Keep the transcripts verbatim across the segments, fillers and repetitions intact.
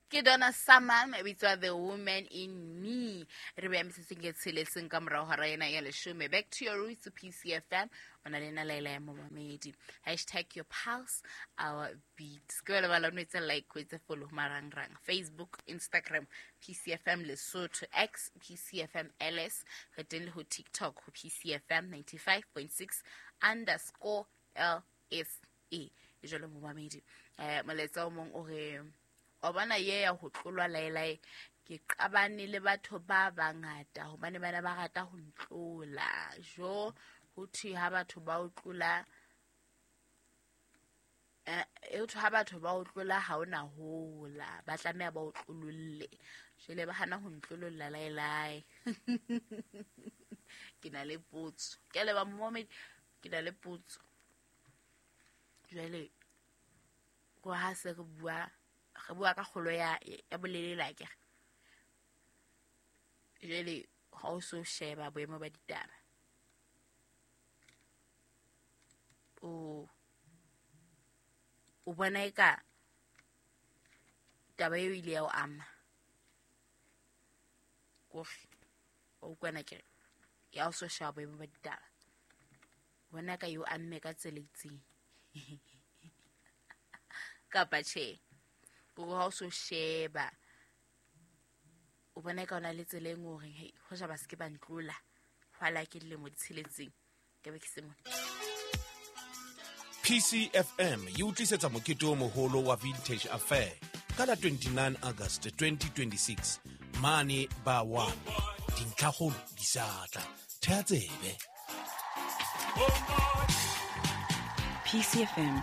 Ke Donna Summer e bitswa The Woman in Me. Re beya metsetseng e tsheletseng ka morao hora ena ya leshome. Back to your roots, P C F M. O na le nna Laila ya Momamedi. Hashtag your pulse, our beat. Ke wena ba la o etse like, o etse follow marangrang. Facebook, Instagram, P C F M Lesotho, X, P C F M L S. Re teng le ho TikTok, ho P C F M ninety-five point six underscore L S E. E jwalo momamedi. Eh, molaetsa o mong o re, wa bona ye ya ho tlolwa laelae, ke qabane le batho ba bangata hobane bana ba rata ho ntlola. Jo, ho thwe ha batho ba o tlola, eh, e thwe ha batho ba o tlola ha ona hola, ba tlameha ba o tlololle. Jwale ba hana ho ntlololla laelae. Ke na le potso. Ke a leboha momamedi, ke na le potso. Jwale, ko ha se re bua, re bua ka kgolo ya, ya bolelele akere. Jwale ha o so sheba boemo ba ditaba, o, o bona eka taba eo ile ya o ama. Kore, wa utlwana ke re, ya o so sheba boemo ba ditaba, bona ka eo amme ka tsela e itseng. Kapa tjhe, kore ha o so sheba, o bona ka ona le tsela e nngwe hore, hei, hoja ba se ke ba ntlola, hwala ke dilemo di tsheletseng, ke be ke se mona. P C F M e o tlisetsa mokete o moholo wa Vintage Affair ka la twenty-nine August twenty twenty-six mane ba one. Dintlhakgolo di sa tla. Theha tsebe. P C F M,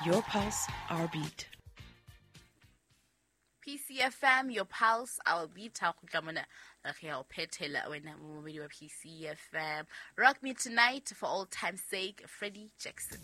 your pulse, our beat. P C F M, your pulse, our beat. Ha kgutla mona, re ya o phethela wena momamedi wa P C F M. Rock me tonight for all time's sake, Freddie Jackson.